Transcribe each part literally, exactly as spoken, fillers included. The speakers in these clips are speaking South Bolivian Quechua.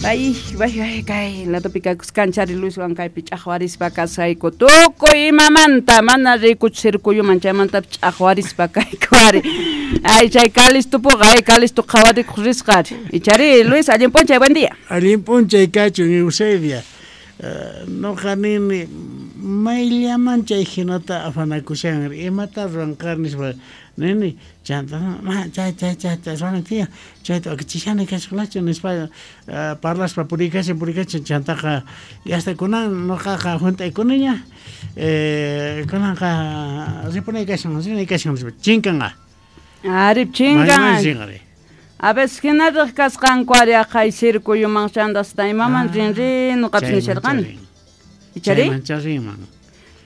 Ay, ay, ay, kay ladopi kakuskanchari Luiswan kaypi ch'aqwarispa kasayku tukuy imamanta mana rikuchu circuyuman chaymanta ch'aqwarispa kayku ari. Ay, chay Calistupuqa, ay, Calisto qhawarikuq risqa ari. Ichari, Luis, allin p'unchay, buen día. Allin p'unchay kachun, Eusebia. Uh, noqa nini mayllaman chay hinata afanakushan imata ruwanqa nispa nini chanta ma chay chay chay chay ruwana tiyan chayta wakichishani kasqalachu nispa uh, parlaspa purikashan purikashan chantaqa hasta kunan noqaqa hunt'aykuniña eh, kunanqa ripunay kashan rinay kashan nispa chinkanqa. Ari chinkan. A veces hinaraq kasqanku ari aqhay circuyuman chandasta imaman ah, rin rin noqapis nisharqani. Ichari?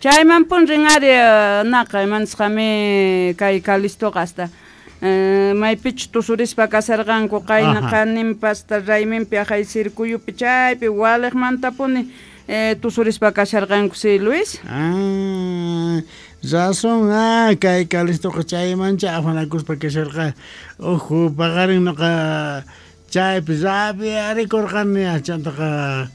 Chayman pun rin ari naqa imanisqami kay Calistoqa hasta maypichu tusurispa kasarqanku qayna qaninpa hasta rayminpi aqhay circuyupi chaypi waliqmantapuni eh, tusurispa kasharqanku si Luis. Ah, razón, ah, kay Calistoqa chaymancha afanakuspa kasharqa. Uju, paqarin noqa chaypi rabiarikurqani chantaqa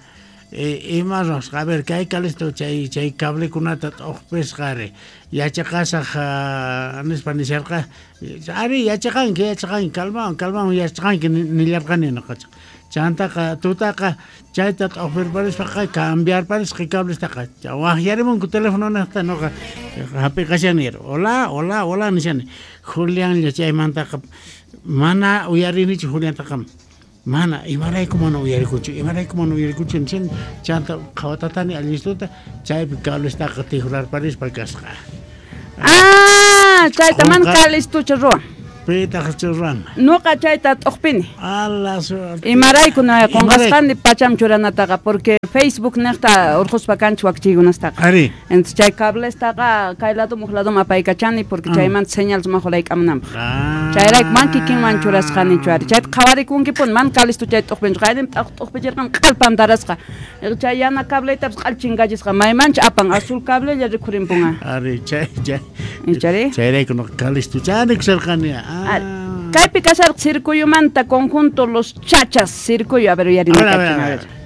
ima ruwasqa. A ver, kay Calisto chay chay cablekunata t'uqpisqa ari yachaqasaq nispa nisharqa. Ari yachaqanki, yachaqanki, calmawan, calmawan yachaqanki nillarqani noqa. Chantaqa tutaqa chayta t'uqpirparispaqa cambiarparisqa cablestaqa waqyarimunku telefononaqta noqa hap'iqashani. Hola, hola, hola nishani. Julianlla chaymantaqa mana uyarinichu Juliantaqa. Mana imarayku mana uyarikunchu, imarayku mana uyarikunchu nishani. Chanta qhawatatani allistuta chaypi cablestaqa tijurarparispa kasqa. Ah, chayta mana Calistucha ruwan. Pitaq ruwan. Noqa chayta t'uqpini. Ala suerte. Imarayku no qonqasqani pacham churanataqa porque Facebook niqta urquspa kanchik wakchiykunastaqa. Ari. Entonces chay cablestaqa kay ladum uq ladum apaykachani porque chaymanta señal sumaq laykamunanpaq. Ah. Chayrayku man kikinman churasqanichu ari. Chayta qhawarikunkipuni man Calisto chay t'uqpinchu. Qaynin t'uqpichirqan q'alpan darasqa. Chay yana cabletapis q'al chinkachisqa maymancha apan azul cablella rikhurimpunqa. Ari chay chay. Ichari? Chayrayku noqa Calisto chani kusarqani. Ah. Kaypi kasarqa circuyumanta conjunto Los Chachas circuyo, a ver uyarina. A ver, a ver, a ver.